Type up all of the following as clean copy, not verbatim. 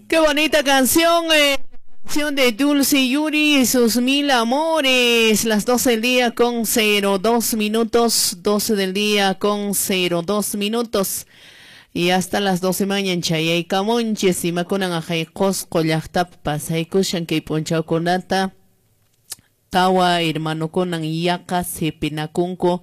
Qué bonita canción, canción de Dulce Yuri y sus mil amores. Las 12 del día con 02 minutos, 12 del día con 02 minutos. Y hasta las 12 mañana chayaykamunchis imakunan aqhay Qosqo llaqtapi pasaykushan kay p'unchawkunata tawa hermanokunan yaqa sipinakunku,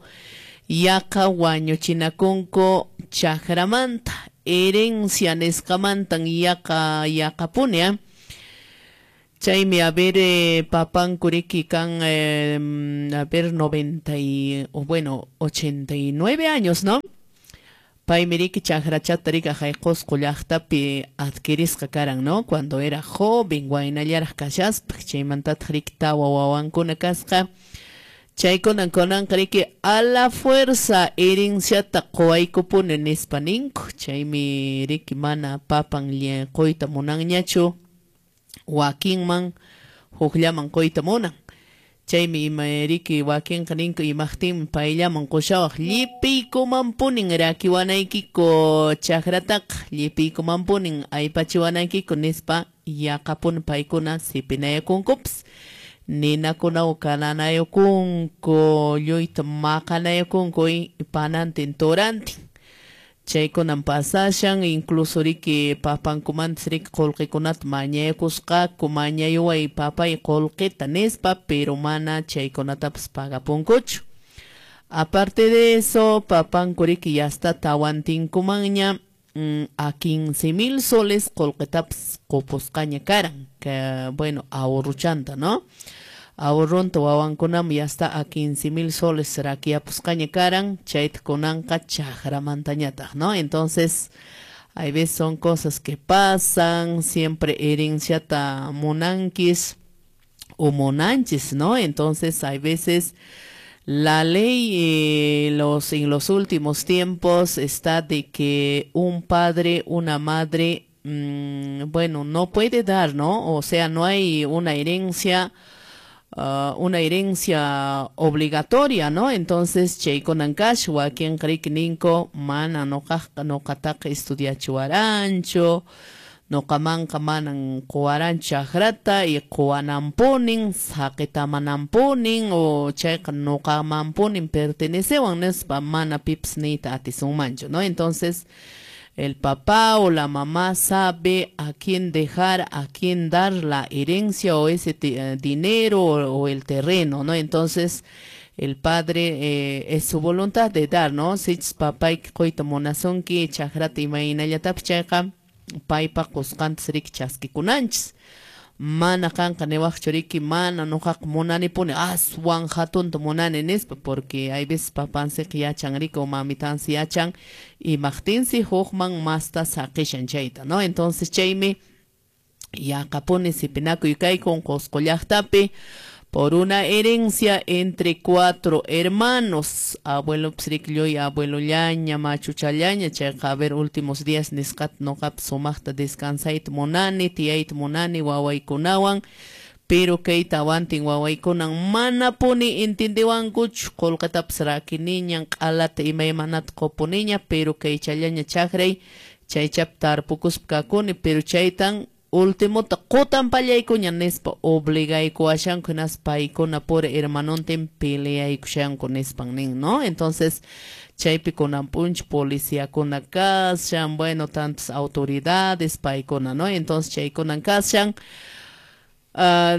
yaqa wañuchinakunku chakramanta, herencia nisqamantan yaqa yaqapuni, ¿eh? Chaymi a ver, papanku riki kan, a ver, 90 y, o bueno, 89 años, ¿no? Paymi riki chakrachata riki aqhay Qosqo llaqtapi adquirisqa karan, ¿no? Cuando era joven, waynallaraq kashaspa, chaymantataq riki tawa wawankuna kasqa. Chaykunan kunanqa riki a la fuerza herenciata quwaykupuni nispa ninku. Chaymi riki mana papan quyta munanñachu, wakinman hukllaman quyta munan. Chaymi ima riki wakinqa ninku imaqtinmi payllaman qushawaq llipiykumanpunin rakiwanaykiku chakrataqa, llipiykumanpunin aypachiwanaykiku nispa yaqapuni paykuna sipinayakunkupas. Ninakunawan kananayukunku, lluyta maqanayakunku panantin turantin. Chaykunan pasashan, incluso riki papankumantas riki qullqikunata mañayakusqaku, mañayuway papay qullqita nispa, pero mana chaykunatapas pagapunkuchu. Aparte de eso, papanku riki ya está tawantinkumanña a 15,000 soles qullqitapas qupusqaña karan, que bueno, ahorruchanta, ¿no? Ahorronta wawankunaman ya está a 15,000 soles rakiyapusqaña karan, chayta kunanqa chakramantañataq, ¿no? Entonces, hay veces son cosas que pasan, siempre herenciata munankis o munanchis, ¿no? Entonces, hay veces la ley en los últimos tiempos está de que un padre, una madre, bueno, no puede dar, ¿no? O sea, no hay una herencia, una herencia obligatoria, ¿no? Entonces, chaykunan kash, wakinqa riki ninku, mana nuqaqqa nuqataqa estudiachiwaranchu, nuqamanqa manan quwaranchu chakrata y quwananpunin, saqitamananpunin, o chayqa nuqamanpunin pertenecewan nispa mana pipas niyta atisunmanchu, ¿no? Entonces, el papá o la mamá sabe a quién dejar, a quién dar la herencia o ese dinero o el terreno, ¿no? Entonces, el padre es su voluntad de dar, ¿no? Sichus papayki quyta munasunki chakrata imaynallatapas chayqa paypa qusqantas riki chaskikunanchis. Mana qanqa niwaqchu riki mana nuqaqa munanipuni aswan hatunta munani nispa, porque hay veces papansiqa yachan riki o mamitansi yachan imaqtinsi hukman masta saqishan chayta, ¿no? Entonces chaymi yaqapuni sipinakuy kaykun Qosqo llaqtapi por una herencia entre 4 hermanos. Abuelo psriklluy, abuelollaña, machuchallaña, chayqa a ver últimos días nisqata nuqapas sumaqta descansayta munani, tiyayta munani wawaykunawan, pero kay tawantin wawaykunan manapuni entendiwankuchu, qullqitapas rakiniñan, q'alata imaymanata qupuniña, pero kaychallaña chakray, chaychapi tarpukuspa kakuni, pero chaytan ultimota qutan pallaykuña nispa obligaykuwashanku hinaspa paykuna pura hermanontin peleaykushanku nispan nin, ¿no? Entonces, chaypi kunan p'unchaw policiakuna kashan, bueno, tantas autoridades paykuna, ¿no? Entonces, chaykunan kashan,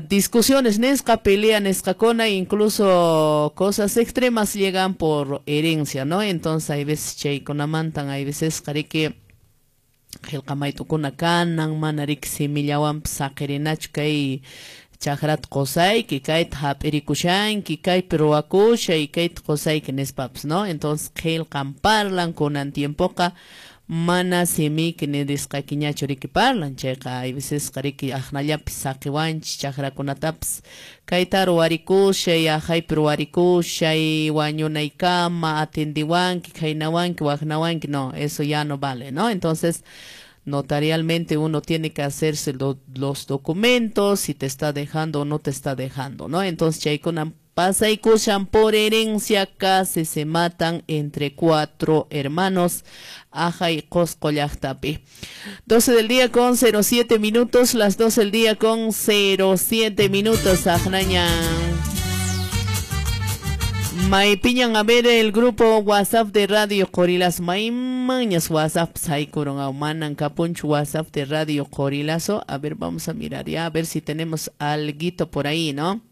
discusiones nisqa, pelea nisqakuna, incluso cosas extremas llegan por herencia, ¿no? Entonces, hay veces chaykunamantan, hay veces riki qillqamaytukuna kanan, mana riki simillawanpas saqirinachu kay chakrata qusayki, kayta hap'irikushanki, kaypi ruwakushay, kayta qusayki nispapas, ¿no? Entonces qillqan parlan, kunan tiempoqa mana simiyki nirisqaykiñachu riki parlan, chayqa hay veces riki aqnallapi saqiwanchis chakrakunatapas, kayta ruwarikushay, aqhaypi ruwarikushay, wañunaykama atendiwanki, khaynawanki, waqnawanki, no, eso ya no vale, ¿no? Entonces, notarialmente uno tiene que hacerse los documentos, si te está dejando o no te está dejando, ¿no? Entonces, chaykunan Pasaykushan por herencia casi se matan entre 4 hermanos. Ajay Qosqo llaqtapi. 12 del día con 07 minutos, las 12 del día con 07 minutos. Ajnaña. Maypiñan a ver el grupo WhatsApp de Radio Qorilazo. Maymañas WhatsApp saykurun manan kapunchu WhatsApp de Radio Qorilazo. A ver, vamos a mirar ya, a ver si tenemos alguito por ahí, ¿no?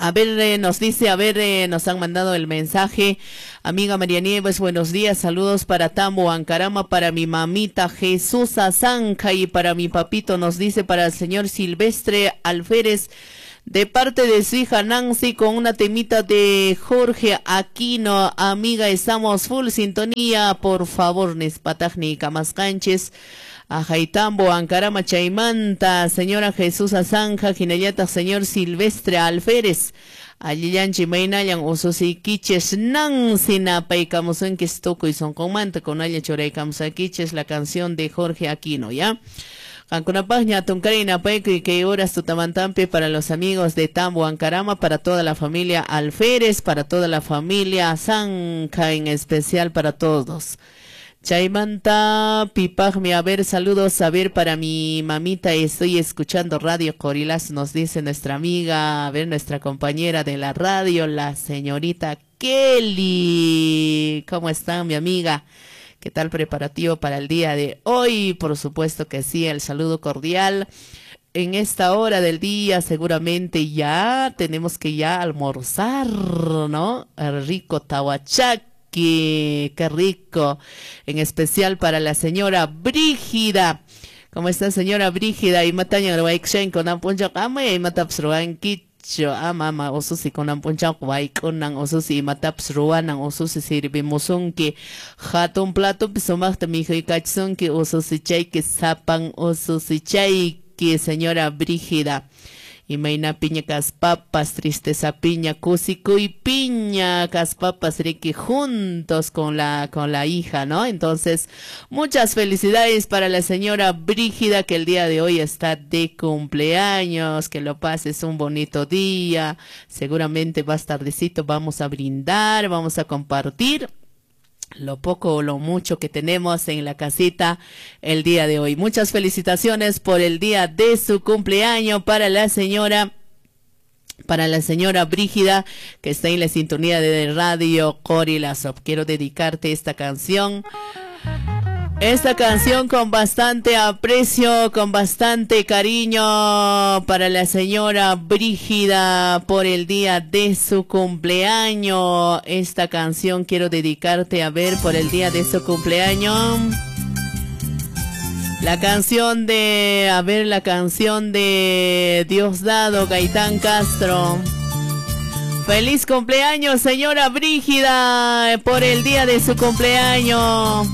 A ver, nos dice, a ver, nos han mandado el mensaje. Amiga María Nieves, buenos días, saludos para Tambo, Ancarama, para mi mamita Jesús Azanca y para mi papito, nos dice, para el señor Silvestre Alférez, de parte de su hija Nancy, con una temita de Jorge Aquino. Amiga, estamos full sintonía, por favor, Nespatajni Kamascanches. Ajaytambo, Ancarama, Chaymanta, señora Jesús Azanja, Jinayata, señor Silvestre Alférez, Allillanchi, Maynallan, Ususiquiches, Nancy, Napaycamusunquis, Tucuy, Sonconmanta, con Aya Choraycamusaquiches, la canción de Jorge Aquino, ¿ya? Qankunapaqña atunkari napaykuy y que horas tutamantampi para los amigos de Tambo, Ancarama, para toda la familia Alférez, para toda la familia Zanja, en especial para todos. Chaymanta, pipajmi, a ver, saludos, a ver, para mi mamita, estoy escuchando Radio Qorilazo, nos dice nuestra amiga, a ver, nuestra compañera de la radio, la señorita Kelly. ¿Cómo está, mi amiga? ¿Qué tal preparativo para el día de hoy? Por supuesto que sí, el saludo cordial. En esta hora del día seguramente ya tenemos que ya almorzar, ¿no? El rico tahuachaqui. Qué rico, en especial para la señora Brígida. ¿Cómo está, señora Brígida? Y mataña ruaykshen con ampuncha ama y mataps ruanquicho ama ama ususi con ampuncha waikunan ususi y mataps ruanan ususi sirvimusunki hatun plato sumaqta mijuykachsunki ususi chayki sapan ususi chayki, señora Brígida. Imayna piña kaspapas, tristeza piña, kusikuy piña, kaspapas, riki, juntos con la hija, ¿no? Entonces, muchas felicidades para la señora Brígida, que el día de hoy está de cumpleaños, que lo pases un bonito día, seguramente más tardecito vamos a brindar, vamos a compartir lo poco o lo mucho que tenemos en la casita el día de hoy. Muchas felicitaciones por el día de su cumpleaños para la señora Brígida, que está en la sintonía de Radio Qorilazo. Quiero dedicarte esta canción. Esta canción con bastante aprecio, con bastante cariño para la señora Brígida por el día de su cumpleaños. Esta canción quiero dedicarte, a ver, por el día de su cumpleaños. La canción de, a ver, la canción de Diosdado Gaitán Castro. Feliz cumpleaños, señora Brígida, por el día de su cumpleaños.